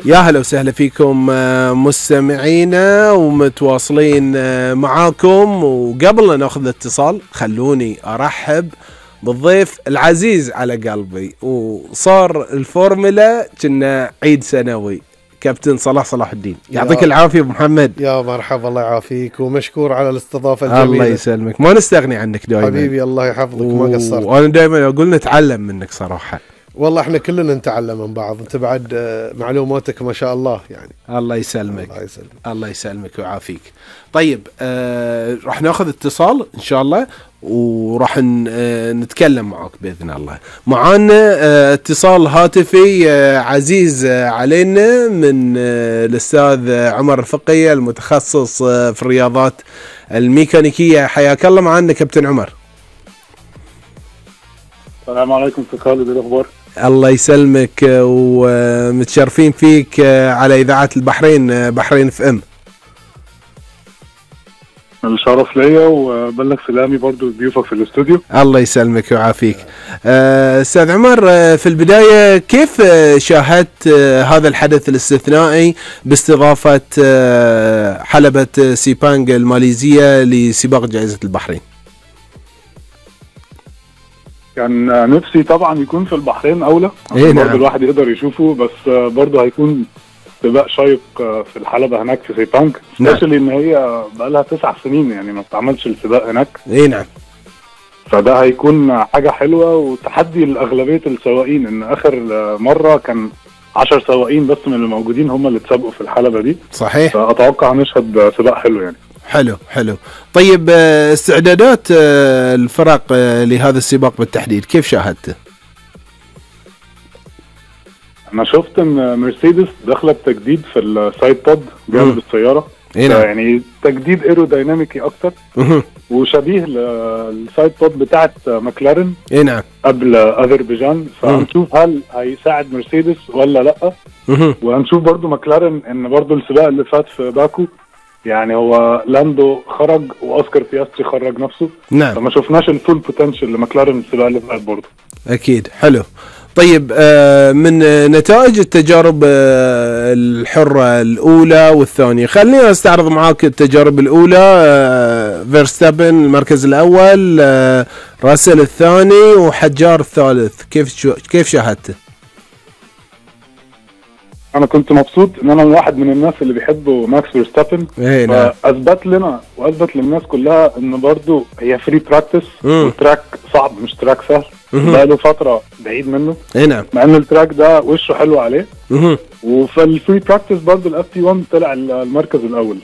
يا هلا وسهلا فيكم مستمعينا ومتواصلين معاكم. وقبل لا ناخذ اتصال خلوني ارحب بالضيف العزيز على قلبي، وصار الفورمولا كنا عيد سنوي، كابتن صلاح الدين. يعطيك العافية ابو محمد. يا مرحبا، الله يعافيك ومشكور على الاستضافة الجميلة. الله يسلمك، ما نستغني عنك دائما حبيبي، الله يحفظك. ما قصرت، وانا دائما اقول نتعلم منك صراحة. والله احنا كلنا نتعلم من بعض، انت بعد معلوماتك ما شاء الله يعني. الله يسلمك. الله يسلمك ويعافيك. طيب راح ناخذ اتصال ان شاء الله وراح نتكلم معك بإذن الله. معانا اتصال هاتفي عزيز علينا من الأستاذ عمر الفقية المتخصص في الرياضات الميكانيكية. حياك الله معانا كابتن عمر. السلام عليكم أستاذ خالد، الأخبار؟ الله يسلمك ومتشرفين فيك على إذاعة البحرين، بحرين اف ام. الشرف ليا وبلغ سلامي برضو ضيوفك في الاستوديو. الله يسلمك ويعافيك. أستاذ عمر، في البداية كيف شاهدت هذا الحدث الاستثنائي باستضافة حلبة سيبانج الماليزية لسباق جائزة البحرين؟ كان نفسي طبعا يكون في البحرين أولى، برضو الواحد يقدر يشوفه، بس برضو هيكون سباق شيق في الحلبة هناك في سيبانج، سبيشالي ان هي بقالها 9 سنين يعني ما بتعملش السباق هناك. نعم. فده هيكون حاجة حلوة وتحدي لأغلبية السواقين، ان اخر مرة كان 10 سواقين بس من الموجودين هم اللي تسابقوا في الحلبة دي. صحيح. فأتوقع نشهد سباق حلو يعني. حلو. طيب استعدادات الفرق لهذا السباق بالتحديد كيف شاهدته؟ انا شفت ان مرسيدس داخله بتجديد في السايد بود جانب السياره، يعني تجديد ايرودايناميكي اكتر وشبيه للسايد بود بتاعه ماكلارين نعم قبل اذربيجان. فهنشوف هل هيساعد مرسيدس ولا لا. وهنشوف برضو ماكلارين ان برضو السباق اللي فات في باكو يعني هو لاندو خرج واوسكار بياستري خرج نفسه. نعم. فما شفناش الفول بوتنشال لماكلارين السباق اللي فات برضو. اكيد. حلو. طيب من نتائج التجارب الحرة الأولى والثانية، خلينا استعرض معاك التجارب الأولى. فيرستابن المركز الأول، راسل الثاني، وحجار الثالث. كيف شاهدته؟ أنا كنت مبسوط إن أنا واحد من الناس اللي بيحبوا ماكس فيرستابن، فأثبت لنا وأثبت للناس كلها إن برضو هي فري براكتس والتراك صعب مش تراك سهل. بقاله فترة بعيد منه. نعم. مع إن التراك ده وشه حلو عليه. وفي الفري براكتس برضو الFP1 طلع المركز الأول.